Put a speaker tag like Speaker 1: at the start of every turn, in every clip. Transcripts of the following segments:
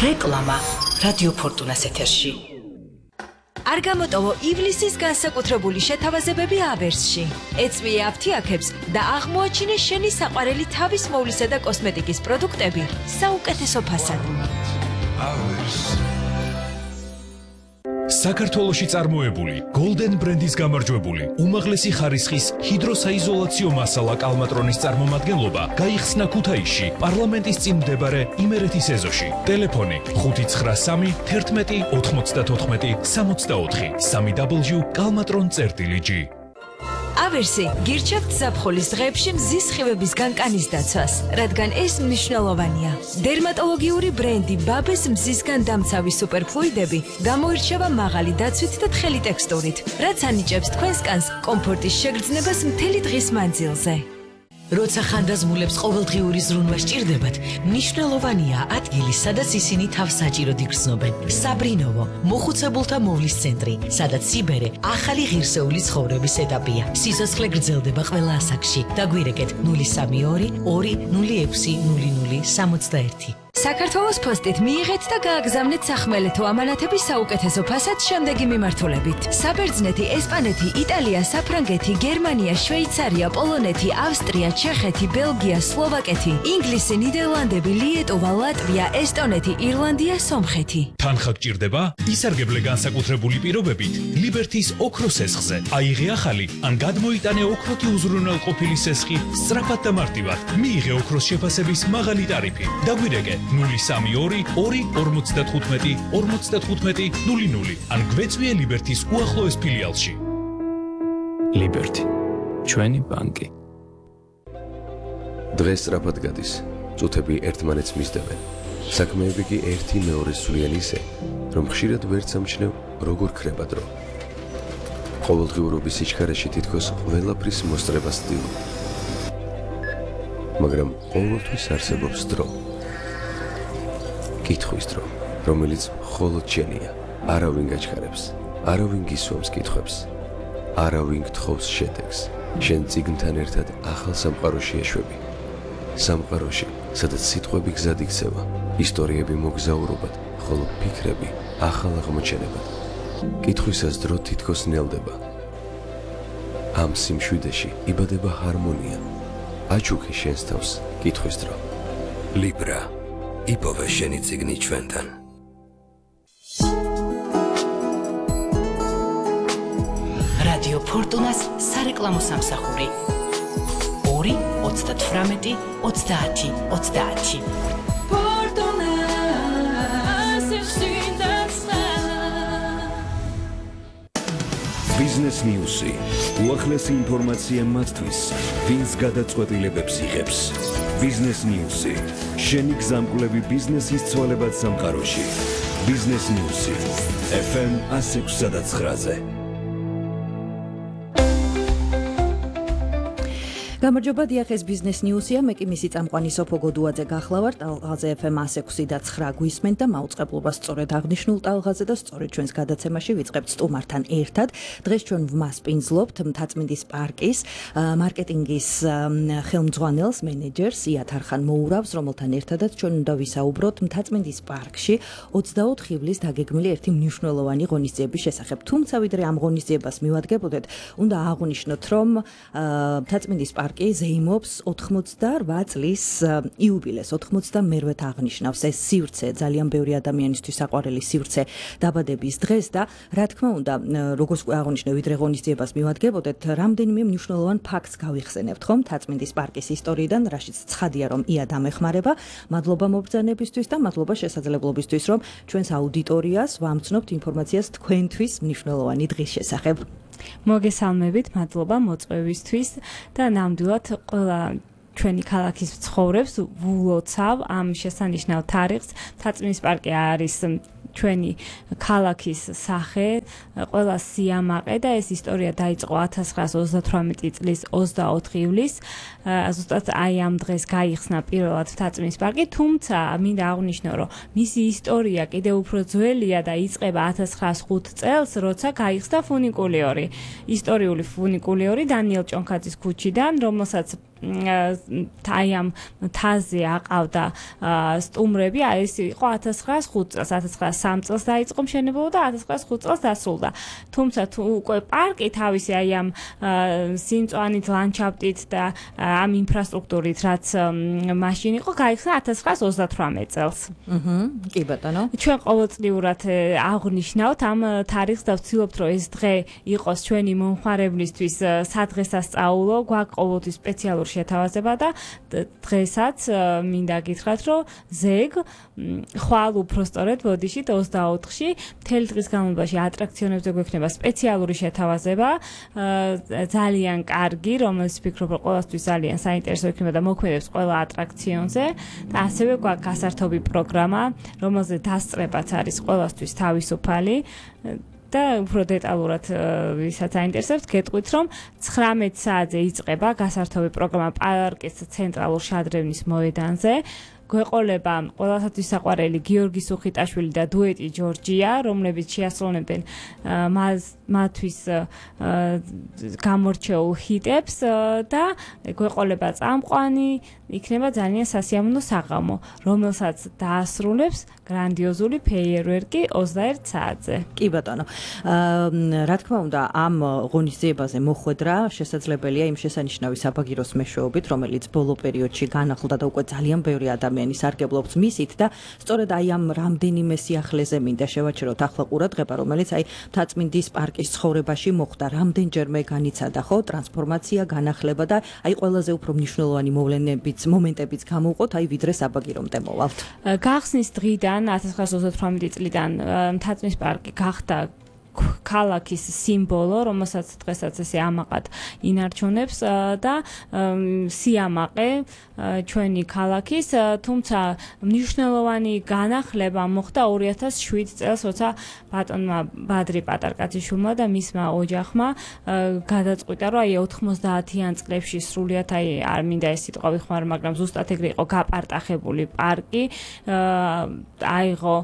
Speaker 1: რეკლამა რადიო ფორტუნას ეთერში.
Speaker 2: არ გამოტოვო ივლისის განსაკუთრებული შეთავაზებები ავერსში. ეწვიე აფთიაქებს და აღმოაჩინე შენი საყვარელი თავის მოვლისა და კოსმეტიკის პროდუქტები საუკეთესო ფასად.
Speaker 3: საქართველოში წარმოებული Golden ბრენდის გამარჯვებული უმაღლესი ხარისხის ჰიდროსაიზოლაციო მასალა კალმატრონის წარმომადგენლობა გაიხსნა ქუთაისში პარლამენტის წინ მდებარე იმერეთის ეზოში. ტელეფონი 593 11 94 64 www.kalmatron.gr.
Speaker 2: ავერსი გირჩევთ ზაფხულის დღეებში მზის სხივების განკანის დაცვას, რადგან ეს მნიშვნელოვანია. დერმატოლოგიური ბრენდი ბაბეს მზისგან დამცავი სუპერფლუიდები გამოირჩევა მაღალი დაცვით და თხელი ტექსტურით, რაც ანიჭებს თქვენს კანს კომფორტის შეგრძნებას მთელი დღის მანძილზე.
Speaker 1: როცა ხანდაზმულებს ყოველდღიური ზრუნვა სჭირდებათ, მნიშვნელოვანია ადგილი, სადაც ისინი თავს საჭიროდ იგრძნობენ. საბრინოვო, მოხუცებულთა მოვლის центრი, სადაც სიბერე ახალი ღირსეული ცხოვრების ეტაპია. სიცოცხლე გრძელდება ყველა ასაკში. დაგვირეკეთ 032 206 0061.
Speaker 2: საქართველოს პოსტით მიიღეთ და გააგზავნეთ სახმელეთო ამანათების საუკეთესო ფასად შემდეგი მიმართულებით. საბერძნეთი, ესპანეთი, იტალია, საფრანგეთი, გერმანია, შვეიცარია, პოლონეთი, ავსტრია, ჩეხეთი, ბელგია, სლოვაკეთი, ინგლისი, ნიდერლანდები, ლიეტუვა, ლატვია, ესტონეთი, ირლანდია, სომხეთი.
Speaker 3: თანხა გჭირდება? ისარგებლე განსაკუთრებული პირობებით ლიბერთის ოქროს სესხზე. აიღე ახალი ან გადმოიტანე ოქროთი უზრუნველყოფილი სესხი სწრაფად და მარტივად. მიიღე ოქროს შეფასების მაღალი ტარიფი. დაგვირეკე 032 255 55 00 ან გვეწვიე ლიბერთის უახლოეს ფილიალში.
Speaker 4: ლიბერთი, ჩვენი ბანკი.
Speaker 5: დღეს სწრაფად გადის, წუთები ერთმანეთს მისდევენ. საქმეები კი ერთი მეორეს სვლიან ისე, რომ ხშირად ვერც ამჩნევ, როგორ ქრება დრო. ყოველდღიურობის სიჩქარეში თითქოს ყველაფრის მოსწრებას ვცდილობ. მაგრამ ყოველთვის არსებობს დრო. კითხვის დრო, რომელიც მხოლოდ შენია. არავინ გაჩქარებს, არავინ გისვამს კითხვებს, არავინ გთხოვს შედეგს. შენ წიგნთან ერთად ახალ სამყაროში ეშვები. სამყაროში, სადაც სიტყვები გზად იქცევა, ისტორიები მოგზაურობად, ხოლო ფიქრები ახალ აღმოჩენებად. კითხვისას დრო თითქოს ნელდება. ამ სიმშვიდეში იბადება ჰარმონია. აჩუქე შენს თავს კითხვის დრო.
Speaker 6: ლიბრა, იპოვე შენი წიგნი ჩვენთან.
Speaker 1: რადიო ფორტუნას სარეკლამო სამსახური 2 38 30 30.
Speaker 6: ბიზნეს ნიუსი, უახლესი ინფორმაცია მათთვის, ვინც გადაწყვეტილებებს იღებს. ბიზნეს ნიუსი, შენი გზამკვლევი ბიზნესის ცვალებად სამყაროში. ბიზნეს ნიუსი, FM 106.9-ზე.
Speaker 7: გამარჯობა, დიახ, ეს ბიზნეს ნიუსია, მე კი მისი წამყვანი სოფო გოდუაძე გახლავართ. ტალღაზე FM 106.9 გვისმენთ და მაუწყებლობას სწორედ აღნიშნულ ტალღაზე და სწორედ ჩვენს გადაცემაში ვიწყებთ სტუმართან ერთად. დღეს ჩვენ ვმასპინძლობთ მთაწმინდის პარკის მარკეტინგის ხელმძღვანელს, მენეჯერს იათ არხან მოურავს, რომელთან ერთადაც ჩვენ უნდა ვისაუბროთ მთაწმინდის პარკში 24 ივლის დაგეგმილი ერთი მნიშვნელოვანი ღონისძიების შესახებ. თუმცა ვიდრე ამ ღონისძიებას მივადგებოდეთ, უნდა აღვნიშნოთ, რომ მთაწმინდის პარკი ზეიმობს 88 წლის იუბილეს, 88-ე აღნიშნავს ეს სივრცე, ძალიან ბევრი ადამიანისთვის საყვარელი სივრცე დაბადების დღეს და რა თქმა უნდა, როგორც აღნიშნე, ვიდრე ღონისძიებას მივადგებოდეთ, რამდენიმე მნიშვნელოვან ფაქტს გავიხსენებთ, ხომ, მთაწმინდის პარკის ისტორიიდან, რაშიც ცხადია, რომ ია დამეხმარება. მადლობა მობრძანებისთვის და მადლობა შესაძლებლობისთვის, რომ ჩვენს აუდიტორიას ვამცნობთ ინფორმაციას თქვენთვის მნიშვნელოვანი დღის შესახებ.
Speaker 8: მოგესალმებით, მადლობა მოწვევისთვის და ნამდვილად ყველა ჩვენი ქალაქის ცხოვრებს ვულოცავ ამ შესანიშნავ თარიღს. მთაწმინდის პარკი არის ჩვენი ქალაქის სახე, ყველა სიამაყე და ეს ისტორია დაიწყო 1938 წლის 24 ივლისს. ზუსტად აი ამ დღეს გაიხსნა პირველად მთაწმინდის პარკი, თუმცა მინდა აღვნიშნო, რომ მისი ისტორია კიდევ უფრო ძველია და იწყება 1905 წელს, როცა გაიხსნა ფუნიკულიური, ისტორიული ფუნიკულიური დანიელ ჭონქაძის ქუჩიდან, რომელსაც აი ამ თაზე აყავდა სტუმრები, აი ეს იყო 1905 წელს, 1903 წელს დაიწყო მშენებლობა და 1905 წელს დასრულდა. თუმცა თუ უკვე პარკი თავისი აი ამ სიმწვანით, ლანდშაფტით და ამ ინფრასტრუქტურით, რაც მაშინ იყო, გაიხსნა 1938 წელს.
Speaker 7: კი ბატონო.
Speaker 8: ჩვენ ყოველწლიურად აღვნიშნავთ ამ თარიღს და ვცდილობთ, რომ ეს დღე იყოს ჩვენი მომხმარებლისთვის სადღესასწაულო, გვაქვს ყოველთვის სპეციალური შეთავაზება და დღესაც მინდა გითხრათ, რომ ზეგ ხვალ უფრო სწორედ ბოდიშით 24-ში მთელი დღის განმავლობაში ატრაქციონებზე გვექნება სპეციალური შეთავაზება, ძალიან კარგი, რომელიც ვფიქრობ, რომ ყველასთვის ძალიან საინტერესო იქნება და მოქმედებს ყველა ატრაქციონზე და ასევე გვაქვს გასართობი პროგრამა, რომელზე დასწრებაც არის ყველასთვის თავისუფალი. და უფრო დეტალურად ვისაც აინტერესებს, გეტყვით, რომ 19 საათზე იწყება გასართობი პროგრამა პარკის ცენტრალურ შადრევნის მოედანზე. გვეყოლება ყველასათვის საყვარელი გიორგი სუხიტაშვილი და დუეტი ჯორჯია, რომლებიც შეასრულებენ მათთვის გამორჩეულ ჰიტებს და გვეყოლება წამყვანი, იქნება ძალიან სასიამოვნო საღამო, რომელსაც დაასრულებს გრანდიოზული ფეიერვერკი 21 საათზე.
Speaker 7: კი ბატონო. რა თქმა უნდა, ამ ღონისძიებაზე მოხვედრა შესაძლებელია იმ შესანიშნავი საბაგიროს მეშვეობით, რომელიც ბოლო პერიოდში განახლდა და უკვე ძალიან ბევრი ადამიანი სარგებლობს მისით და სწორედ აი ამ რამდენიმე სიახლეზე მინდა შევაჩეროთ ახლა ყურადღება, რომელიც აი მთაწმინდის პარკის ცხოვრებაში მოხდა, რამდენჯერმე განიცადა ხო ტრანსფორმაცია, განახლება და აი ყველაზე უფრო მნიშვნელოვანი მომენტებიც გამოვყოთ, აი ვიდრე საბაგირომდე მოვალთ.
Speaker 8: გახსნის დღიდან 1938 წლიდან მთაწმინდის პარკი გახდა ქალაქის სიმბოლო, რომელსაც დღესაც ესე ამაყად ინარჩუნებს და სიამაყე ჩვენი ქალაქის, თუმცა მნიშვნელოვანი განახლება მოხდა 2007 წელს, როცა ბატონმა ბადრი პატარკაციშვილმა და მისმა ოჯახმა გადაწყვიტა, რომ აი 90-იან წლებში სრულიად აი არ მინდა ეს სიტყვა ვიხმარ, მაგრამ ზუსტად ეგრე იყო გაპარტახებული პარკი, აიღო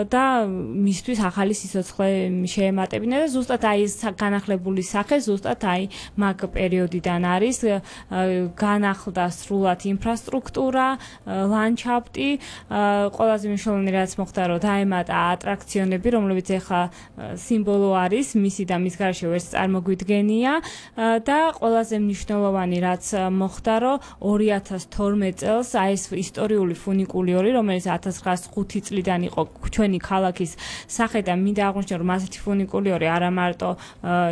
Speaker 8: და მისთვის ახალი სიცოცხლე ემატებინა და ზუსტად აი ეს განახლებული სახე ზუსტად აი მაგ პერიოდიდან არის განახლდა სრულად ინფრასტრუქტურა, ლანდშაფტი, ყველაზე მნიშვნელოვანი რაც მოხდა, რომ დაემატა ატრაქციონები, რომლებიც ახლა სიმბოლო არის, მისი და მის გარშე ვერც წარმოგვიდგენია და ყველაზე მნიშვნელოვანი რაც მოხდა, რომ 2012 წელს აი ეს ისტორიული ფუნიკულიორი, რომელიც 1905 წლიდან იყო ჩვენი ქალაქის სახე და მინდა აღვნიშნო, რომ ასეთი ფუნიკულიორი არა მარტო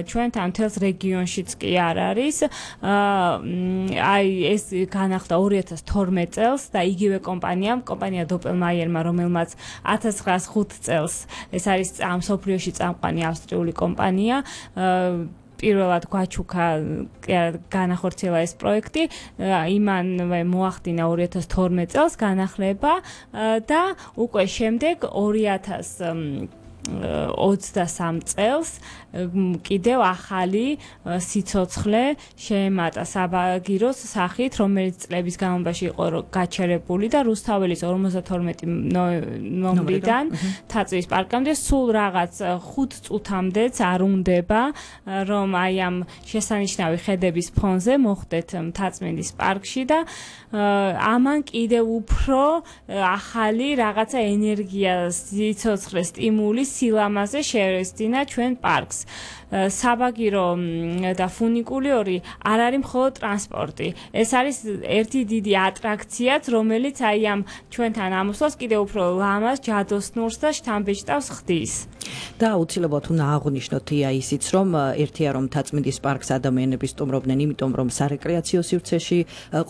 Speaker 8: ჩვენთან მთელს რეგიონშიც კი არ არის. აი ეს განახლდა 2012 წელს და იგივე კომპანია დოპელმაიერმა, რომელმაც 1905 წელს ეს არის მსოფლიოში წამყვანი ავსტრიული კომპანია, პირველად გვაჩუქა განახორციელა ეს პროექტი, იმანვე მოახდინა 2012 წელს განახლება და უკვე შემდეგ 2023 წელს კიდევ ახალი სიცოცხლე შეემატა საბაგიროს სახით, რომელიც წლების განმავლობაში იყო გაჩერებული და რუსთაველის 52 ნომრიდან მთაწმინდის პარკამდე სულ რაღაც 5 წუთამდეც არ უნდება, რომ აი ამ შესანიშნავი ხედების ფონზე მოხვდეთ მთაწმინდის პარკში და ამან კიდევ უფრო ახალი რაღაცა ენერგია, სიცოცხლე, სტიმული, სილამაზე შევესწინა ჩვენ პარკს. საბაგირო და ფუნიკულიორი არ არის მხოლოდ ტრანსპორტი. ეს არის ერთი დიდი ატრაქციაც, რომელიც აი ამ ჩვენთან ამოსვლას კიდევ უფრო ლამაზ, ჯადოსნურს და შთამბეჭდავს ხდის.
Speaker 7: და აუცილებლად უნდა აღვნიშნოთ ისიც, რომ ერთია რომ მთაწმინდის პარკს ადამიანები სტუმრობდნენ, იმიტომ რომ სარეკრეაციო სივრცეში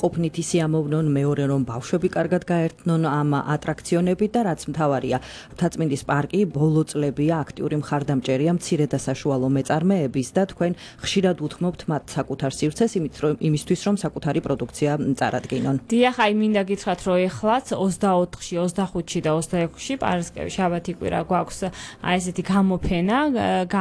Speaker 7: ყოფნით ისიამოვნონ, მეორე რომ ბავშვები კარგად გაერთნონ ამ ატრაქციონებით და რაც მთავარია, მთაწმინდის პარკი ბოლო წლებია აქტიური მხარდამჭერია მცირე და საშუალო მეწარმეების და თქვენ ხშირად უთმობთ მათ საკუთარ სივრცეს იმისთვის, რომ საკუთარი პროდუქცია წარადგინონ.
Speaker 8: დიახ, აი მინდა გითხრათ, რომ ეხლაც 24-ში, 25-ში და 26-ში პარასკევი, შაბათი კვირა გვაქვს აი ესეთი გამოფენა